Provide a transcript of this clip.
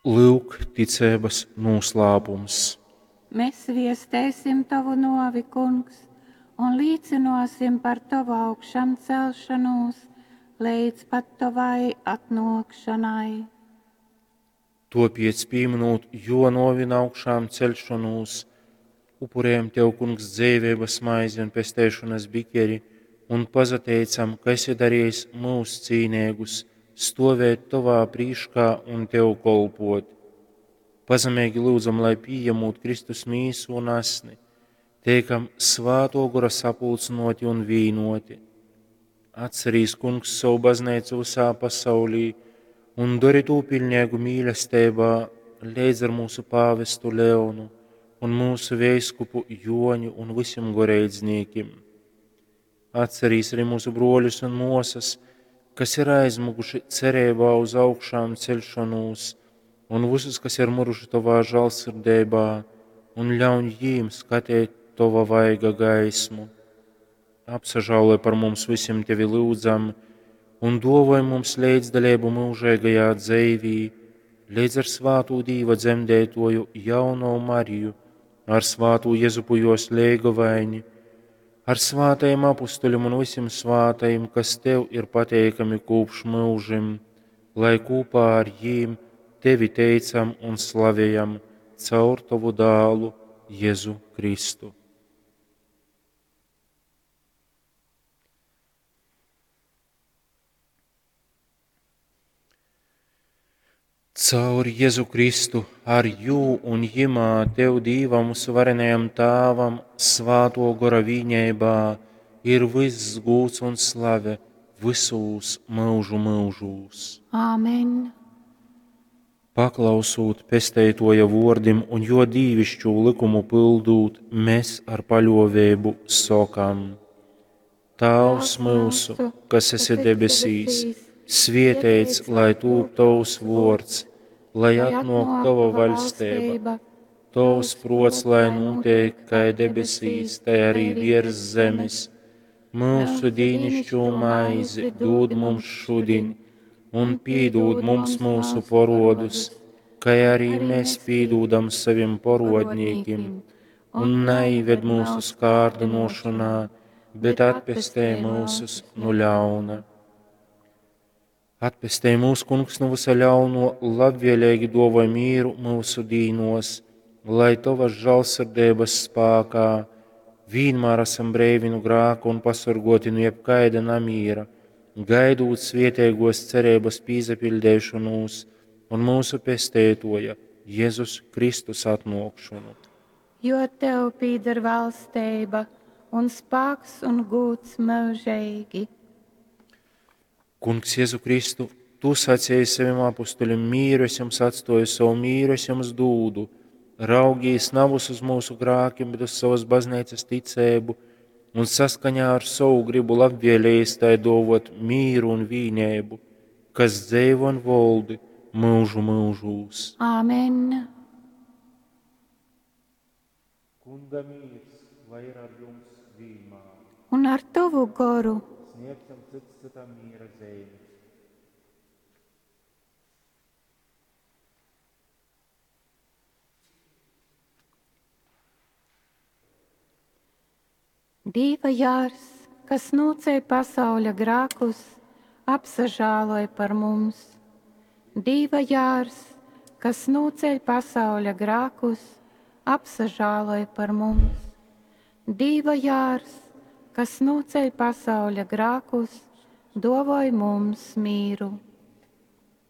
Lyuk, ticeibas nūslāpums. Mēs viestēsim tovu nōvi, Kungs, un līcynōsim par tovu augšamcelšanūs leidz pat tovai atnōkšanai. Tōpēc, pīmynūt jō nōvi un augšām ceļšonūs, upurējam Tev, Kungs, dzeiveibas maizi un pesteišonas bikeri un pasateicam, ka esi darījis mūs cīneigus stovēt Tovā prīškā un Tev kolpot. Pazemeigi lūdzam, lai pījemūt Kristus mīsu un asni, teikam svāto gora sapulcināti un vīnoti. Atcerīs, Kungs, savu baznīcu visā pasaulī un dori tū pilnīgu mīlestībā leidz ar mūsu pāvestu Leonu un mūsu veiskupu Joņu un visiem goreidzniekiem. Atcerīs arī mūsu broļus un mosas, kas ir aizmuguši cerībā uz augšām celšanos, un visus, kas ir muruši Tavā žālsirdībā, un ļauj jīm skatīt Tava vaiga gaismu. Apsažāloj par mums visiem Tevi lūdzam, un dovoj mums līdzdalību mūžīgajā dzīvī, līdz ar svātū Dīva dzemdētoju jauno Mariju, ar svātū Jezupu jos leigovaini, ar svātajiem apustuļiem un visiem svātajiem, kas Tev ir pateikami kopš mūžim, lai kopā ar jīm Tevi teicam un slavējam caur Tavu dālu Jēzu Kristu. Caur Jēzu Kristu, ar jū un jimā Tev Dīvam varenajam Tāvam, svāto gora vīņeibā, ir viss gūts un slave visūs mūžu mūžūs. Āmen. Paklausūt pesteitoja vordim un jo dīvišķū likumu pildūt, mēs ar paļovēbu sokam: Tāvs mūsu, kas esi debesīs, svietēts, lai tūp tavs vords, lai atnok tava vaļstība, tavs prots, lai notiek kā debesīs, tai arī virs zemes. Mūsu dīnišķo maizi dod mums šodien, un pīdūd mums mūsu porodus, kā arī mēs pīdūdam saviem porodnīkim, un neived mūsu skārdinošanā, bet atpestē mūsus no ļauna. Atpestē mūsu kungs no visa ļauno, labvēlīgi dovoj mīru mūsu dīnos, lai tavas žālsirdības spākā vienmēr esam breivi no grāka un pasargoti no jebkaida namīra, gaidūt svietēgos cerības pīzapildēšanos un mūsu pestētoja Jēzus Kristus atnokšanu. Jo tev pīder valstība un spāks un gūts mūžīgi. Kungs Jēzu Kristu, tu sacīji saviem apustuļiem, mīru es jums atstoju, savu mīru es jums dūdu. Raugīs navus uz mūsu grākiem, bet uz savas baznīcas ticēbu un saskaņā ar savu gribu labvēlējis tai dovot mīru un vīnēbu, kas dzeivo un voldi mūžu mūžūs. Āmen. Kunga mīrs, lai ir ar jums vienmēr. Un ar tavu goru. Sniegsim cits citam miera zīmi. Dīva jārs, kas nūceļ pasauļa grākus, apsažāloj par mums. Dīva jārs, kas nūceļ pasauļa grākus, apsažāloj par mums. Dīva jārs, kas nūceļ pasauļa grākus, dovoj mums mīru.